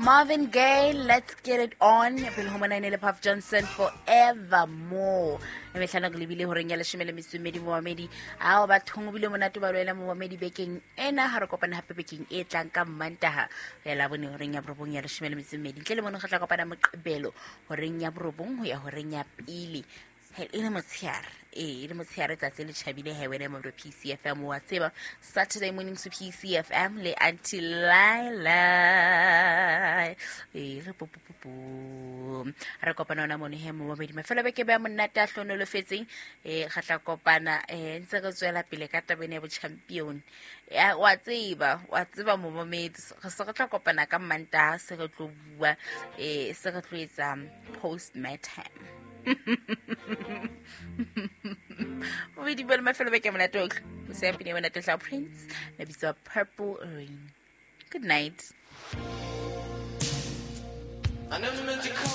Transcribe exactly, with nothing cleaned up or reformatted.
Marvin Gaye, Let's Get It On. Pele ho mona e ne le Puff Johnson, Forevermore. E mehlano ke lebile horeng ya leshome le metso e mmedi momamedi. Ao bathong o bile monate ba lwela momamedi bekeng ena, ha re kopane hape bekeng e tlang ka Mmantaha ho ya Labone horeng ya borobong ya leshome le metso e mmedi. Ntle le mono re tla kopana Moqebelo horeng ya borobong ho ya horeng ya pele. He, e le motshehare, ee, e le motshehare, tsatsi le tjhabile he wena mo P C F M wa tseba. Saturday mornings with P C F M le Auntie Laila. Ee, re po, po, po, po. Re kopana hona mono he momamedi. Mafelo a beke ba monate a hlohonolofetseng. Eh, re tla kopana, eh, ntse re tswela pele ka taba ena ya bo champion. Ya, wa tseba, wa tseba momamedi. Re se re tla kopana ka Mantaha, se re tlo bua, eh, se re tlo etsa post-mortem. Bobedi ba le mafelo beke monate otlhe. Mosea pina monate tla Prince, le bitswa Purple Rain. Good night. I never meant to come.